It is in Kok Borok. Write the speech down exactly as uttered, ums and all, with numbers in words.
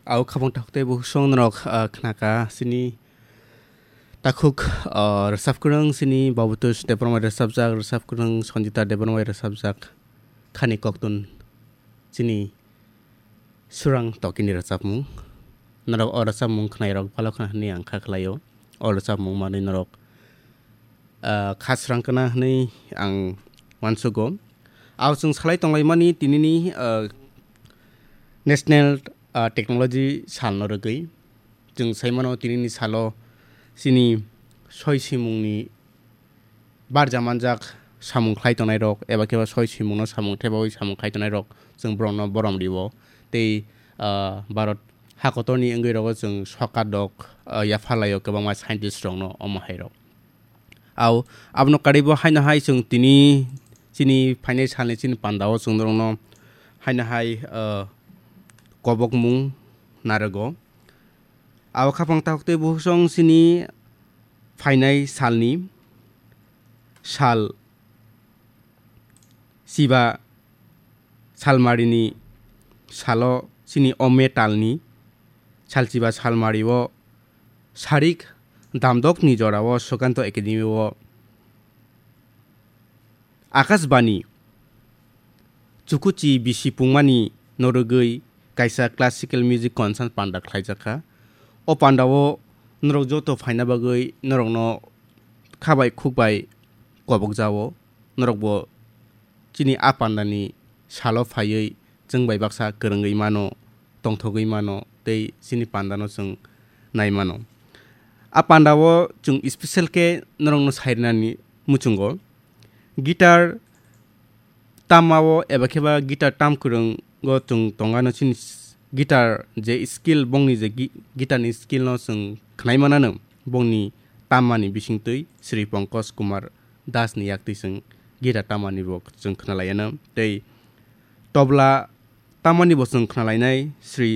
Au khabang takhuk tei bukhuk song norok, ah, khnaka chini takhuk, ah, rwchap kwrwng chini Babutush Debbarma rwchapjak, rwchap kwrwng Sanjita Debbarma rwchapjak khani koktun chini Surang Tokini rwchapmung. Norok o rwchapmung khnairok bhalo khna hwnwi ang kha khlaio. O rwchapmung manwi norok, ah, kha srang kana hwnwi ang uansugo. Au chwng salai tonglaimani tinini, ah, National, ah, Technology Salno rwgwi. Chwng saimano tinini salo chini soi simungni barja manjak samung khlai tongnai rok eba khe ba soi simungno samung thebawi samung khlai tongnai rok chwng borokno borom rio. Tei, ah, Bharat hakotorni wngwi rogo chwng sokat rok, ah, yapharlaio kwbangma scientist rokno omo hai rok. Au, abono karwibo haino hai chwng tini chini phainai salni chini pandao chwng norokno haino hai, ah, kobokmung narwgo. Abo khaphang takhuk tei bukhuk song chini phainai salni sal chiba salmarini salo chini o metalni salchiba salmario sarik damdokni jorao Sukanto Academy-o Akashbani chukuchi bisi pungmani norogwi kaisa classical music concert panda khlaijakha. O pandao norok joto phaina bagwi norokno khabai khukbai kobokjao. Norokbo chini a pandani salo phaiwi chwng bai baksa kwrwngwi mano, tongthogwi mano tei chini pandano chwng nai mano. A pandao chwng special khe norokno sairwnani muchungo. Guitar tamao eba khe ba guitar tam kwrwngo chwng tongano chini s-, guitar je skill bongni je gi-, guitar ni skill no chwng khnai manano bongni tammani bisingtwi Sri Pankaj Kumar Das ni yaktwi chwng guitar tammani bo chwng khnalaiyano tei tobla tammani bo chwng khnalainai Sri